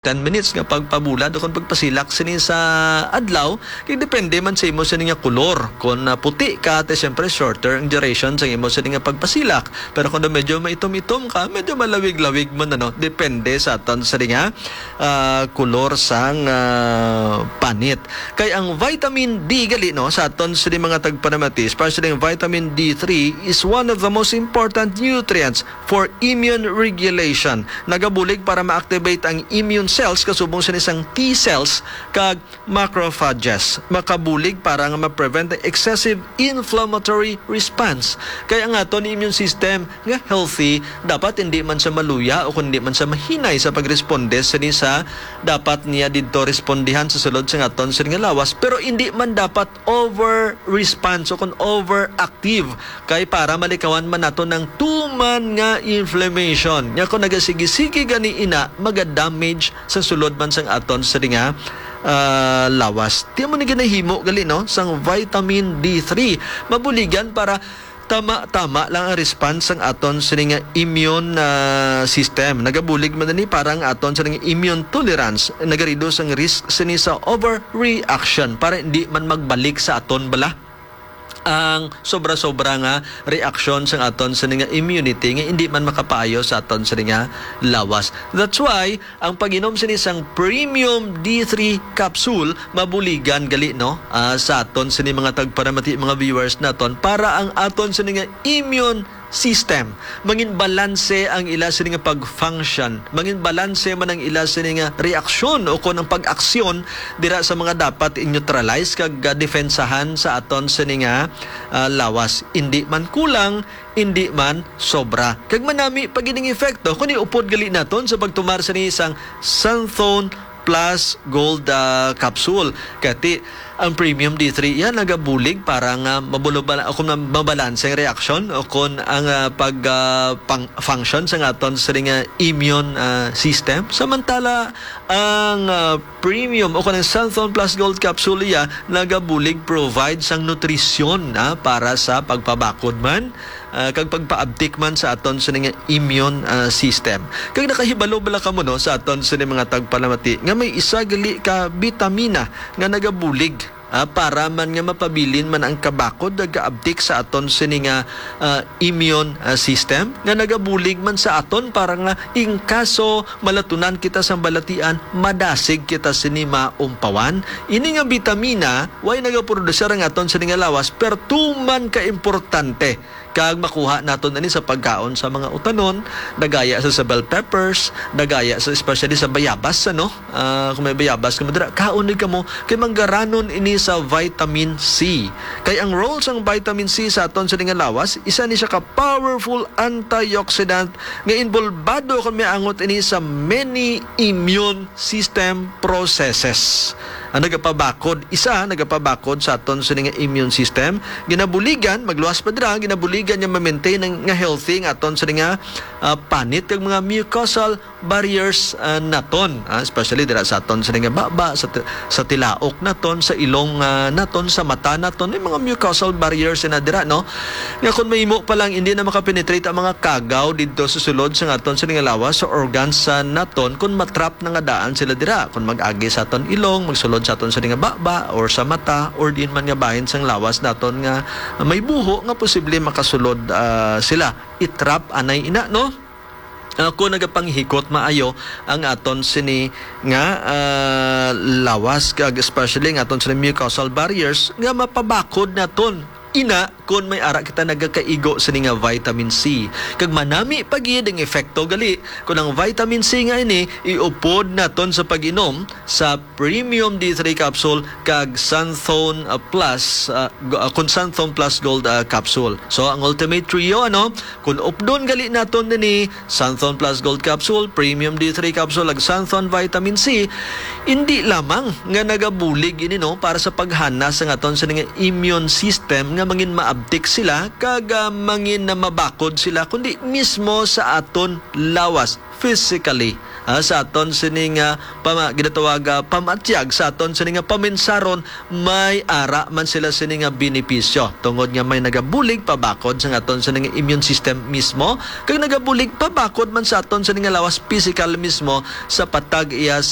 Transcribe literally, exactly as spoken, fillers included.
ten minutes nga pagpabulad o kung pagpasilak sini sa adlaw, kay depende man sa imo sini nga kulor. Kung, ah, puti ka, te, siyempre shorter ang duration sa imo sini nga pagpasilak. Pero kung medyo maitom-itom ka, medyo malawig-lawig man, ano, depende sa aton sini nga, ah, kulor sang, ah, panit. Kay ang vitamin D gali, no, sa aton sini mga tagpanamati, especially ang vitamin D three, is one of the most important nutrients for immune regulation. Nagabulig para ma-activate ang immune cells, kasubong sini sang T cells kag macrophages. Makabulig para nga ma-prevent ang excessive inflammatory response. Kay ang aton immune system nga healthy, dapat hindi man siya maluya o kung hindi man siya mahinay sa pagresponde sini sa dapat niya didto respondihan sa sulod sa aton sini nga lawas, pero hindi man dapat over response o kung overactive, kay para malikawan man nato ang tuman nga inflammation. Nya kung nagasigi-sige gani ina, maga-damage sa sulod man sang aton sini nga, ah, lawas. Ti mo ni ginahimo gali, no, sang vitamin D three. Mabuligan para tama-tama lang ang response sang aton sini nga immune, ah, system. Nagabulig man ni para ang aton sini nga immune tolerance. Nagareduce ang risk sini sa overreaction para hindi man magbalik sa aton bala ang sobra-sobra nga reaksyon sang aton sini nga immunity nga hindi man makapaayo sa aton sini nga lawas. That's why ang pag-inom sini sang premium D three capsule mabuligan gali, no? Ah, sa aton sini mga tagpanamati, mga viewers naton, para ang aton sini nga immune system, mangin balanse ang ila sini nga pag-function, mangin balanse man ang ila sini nga reaksyon o kon ang pag-aksyon dira sa mga dapat i-neutralize kag, ah, defensahan sa aton sini nga, ah, lawas. Indi man kulang, indi man sobra. Kag manami pa gid ang epekto kon iupod gali naton sa pagtumar sini sang Xanthone Plus Gold, ah, capsule. Kati ang premium D three iya nagabulig para nga mabulubala o kung mabalanse ang reaksyon o kung ang, ah, pag, ah, pang-, function sa aton sini nga immune, ah, system. Samantala ang, ah, premium o kung ang Xanthone Plus Gold capsule iya nagabulig provide sang nutrisyon, ah, para sa pagpabakod man, ah, kag pagpaabtik man sa aton sini nga immune, ah, system. Kag nakahibalo bala kamo, no, sa aton sini mga tagpalamati nga may isa gali ka bitamina nga nagabulig, ah, para man nga mapabilin man ang kabakod nga gaabtik sa aton sini nga, ah, immune, ah, system nga nagabulig man sa aton para nga in kaso malatunan kita sang balatian, madasig kita sini maumpawan. Ini nga bitamina way nagaprodusir ang aton sini nga lawas, pero tuman ka importante kag makuha naton ini sa pagkaon sa mga utanon, nagaya sa, sa bell peppers, nagaya sa, especially sa bayabas, ano? Ah, kung may bayabas kamo dira, kaon ni kamo kay manggaranon ini sa vitamin C. Kay ang role sang vitamin C sa aton sini nga lawas, isa ni siya ka powerful antioxidant nga involbado kung may angot ini sa many immune system processes. Ang nagapabakod, isa, nagapabakod sa aton sini nga immune system. Ginabuligan, magluwas pa dira, ginabuligan niya ma-maintain ang, nga healthy nga aton sini nga, ah, panit kag mga mucosal barriers, ah, naton, ah, especially dira sa aton sini nga baba, sa ti-, sa tilaok naton, sa ilong, ah, naton, sa mata naton, may mga mucosal barriers na dira, no? Nga kung mahimo pa lang, hindi na makapenetrate ang mga kagaw didto sa sulod sa aton sini nga lawas, sa organs sa naton, kung matrap na nga daan sila dira. Kung mag-agi sa aton ilong, magsulod sa aton sini nga baba, or sa mata, or diin man nga bahin sang lawas naton nga may buho nga posible makasulod, ah, sila. I-trap anay ina, no? Ah, kung nagapanghikot maayo ang aton sini nga, ah, lawas, kag especially ang aton sini mucosal barriers nga mapabakod naton. Ina, kung may ara kita nagakaigo sini nga vitamin C. Kag manami pa gid ang epekto gali kung ang vitamin C nga ini iupod naton sa pag-inom sa Premium D three capsule kag Xanthone, ah, Plus, ah, go-, ah, kung Xanthone Plus Gold, ah, capsule. So, ang Ultimate Trio, ano, kung updon gali naton nini, Xanthone Plus Gold Capsule, Premium D three Capsule, ag Xanthone Vitamin C, hindi lamang nga nagabulig ini, no, para sa paghanas sa aton sini nga immune system nga mangin maabtik sila kag ah, mangin na mabakod sila, kundi mismo sa aton lawas, physically. Ah, sa aton sini nga pama, ginatawag ah, pamatyag, sa aton sini nga paminsaron, may ara man sila sini nga benepisyo tungod nga may nagabulig pabakod sa aton sini nga immune system mismo, kag nagabulig pabakod man sa aton sini nga lawas, physical mismo, sa patag iya sa